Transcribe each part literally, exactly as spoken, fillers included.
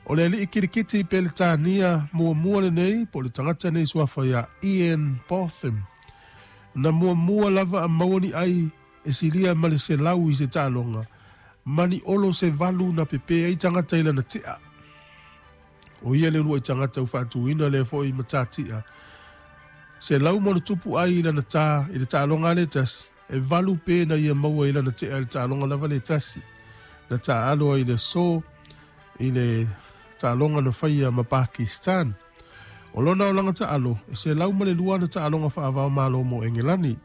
O le ali'i kilikiti Peletania muamua lenei po o le tagata nei suafa ia Ian Botham na muamua lava a maua ni ai e silia ma le selau i se taaloga ma ni olo se valu na pepē ai tagata i lana te'a. O ia le ulua'i tagata ua faatuina lea fo'i matati'a selau ma ona tupu ai i lana tā i le taaloga a le tasi e valu pē na ia maua i lana te'a i le taaloga lava le tasi na taalo ai i le aso i le taaloga na faia ma Pakistan. O lona olaga taalo e selau ma le lua ana taaloga faavao malo mo Engelani.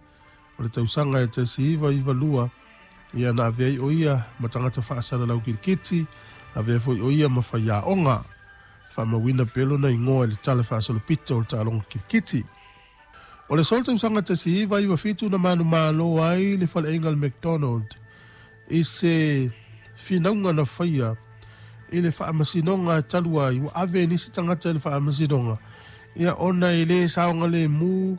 O le tausaga e tasi iva iva lua ia na avea ai o ia ma tagata faasalalau kilikiti, avea foi o ia ma faiaoga. Faamauina pea lona igoa i le tala faasolopito o le taaloga kilikiti. O le solo tausaga tasi iva iva fitu na manumalo ai le faleaiga le McDonald i se finauga na faia i le faamasinoga e talu ai ua ave nisi tagata i le faamasinoga ia ona e lē saogalemu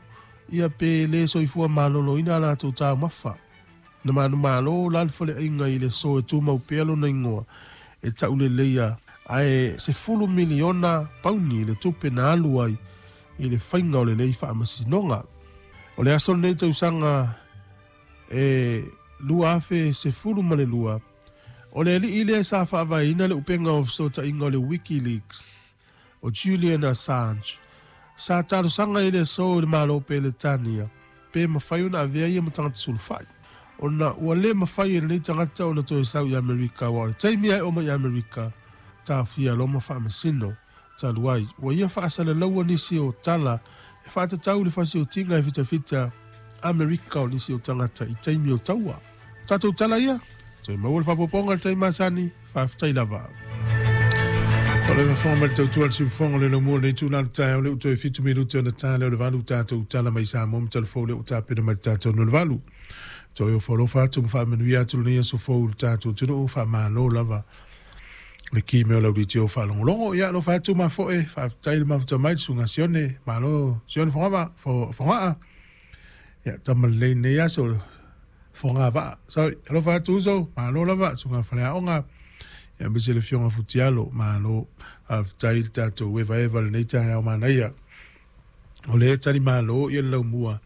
ia pe lē soifua maloloina a latou taumafa. Na manumalo la le faleaiga i le aso e tumau pea lona igoa e taʻuleleia ae sefulu miliona pauni le tupe na alu ai i le faiga o lenei faamasinoga. O le aso lenei tausaga e lua afe sefulu ma le lua o le ali'i lea sa faavaeina le upega o fesootaiga o le WikiLeaks o Julian Assange sa talosaga i le aso i le Malo Peletania pe mafai ona avea ia ma tagata sulufai ona ua lē mafai e lenei tagata ona toe sau i Amerika ua o le taimi ae oma i Amerika taofia loma faamasino talu ai ua ia faasalalaua nisi o tala e faatatau le fasiotiga e fitafita Amerika o nisi o tagata i taimi o taua. Tatou tala ia toe maua le faapopoga le taimi masani faafetai lava. O le mafonga mai le tautua le siufofoga o le laumua lenei tula le taeao le u toe fitu minute ona ta lea o le valu tatou tala mai Samoa ma talafou le ua tapena mai le tatou no le valu. Toe o falofa atu ma faamanuia atu lenei aso fou i le tatou atunuu faamalo lava le ki mea o lau litio faalogologo. Ia alofa atu mafoe faafetai le mafuta mai le susuga Sione malo Sione Fogava Fogaa. Ia tama lelei lenei aso Fogavaa. Sorry, alofa atu uso malo lava susuga Faleaoga. Ia aemaise le afioga Futialo malo faafetai le tatou evaeva lenei taeao manaia. O lea tali malo ia le laumua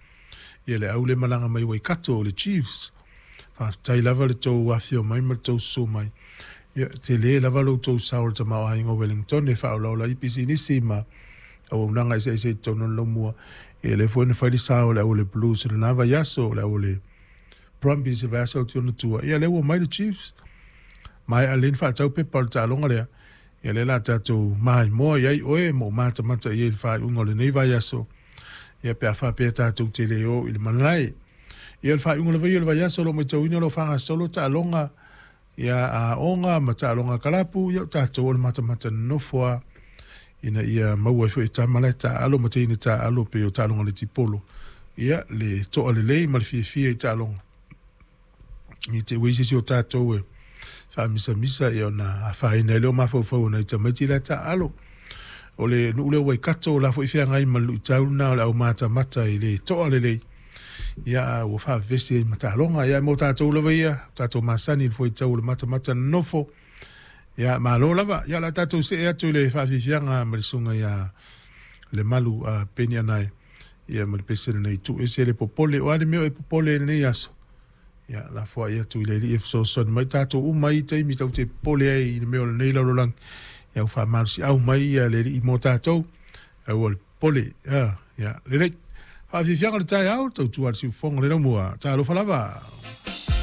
ia le au le malaga mai Waikato o le Chiefs. Faafetai lava le tou afio mai ma le tou susu mai. Ia tele lava lo tou sao le tamaoaiga o Wellington e faaolaola ai pisinisi ma auaunaga eseese i totonu o le laumua. Ia lea foi na fai le sao o le au o le Blues i lena vaiaso, o le au o le Brumbies i le vaiaso atu i ona tua. Ia lea ua mai le Chiefs. Maea lelei ona faatau pepa o le taaloga lea. Ia lea la tatou maimoa i ai oe ma ou matamata i ai i le faaiuga o lenei vaiaso. Ia pe a faapea tatou te le o i le malae. Ia o le faaiuga lava ia o le vaiaso o lo o matauina o lo o faagasolo taaloga ia aoga ma taaloga kalapu ia o tatou o le matamata nonofo a ina ia maua ai foi e tama la e taaalo ma teine taaalo pei o taaloga netipolo. Ia le toa lelei ma le fiafia i taaloga. I te ua i se isi o tatou e faamisamisa ia ona afaina ai lea o mafaufau o nai tamaiti la e taaalo. O le nuu lea o Waikato o la foi feagai ma le luitau lena o le aumatamata i le toa lelei. Ia ua faavevesi ai ma taaloga. Ia mo tatou lava ia, tatou masani i le fuaitau o le matamata nonofo. Ia malo lava. Ia o le a tatou see atu i le faafiafiaga ma le susuga ia Lemalu a Peni Anae. Ia ma le pese lenei tuu ese le popole. O a le mea o e popole i lenei aso? Ia lafoai atu i le Alii e fesoasoani mai tatou uma i taimi tatou te popole ai i le mea o lenei lalolagi. Ia ua faamalosiau mai ia le Alii mo tatou. Aua le popole. Ia, ia lelei. Faafiafiaga o le taeao, tautua le siufofoga o le laumua. Talofa lava.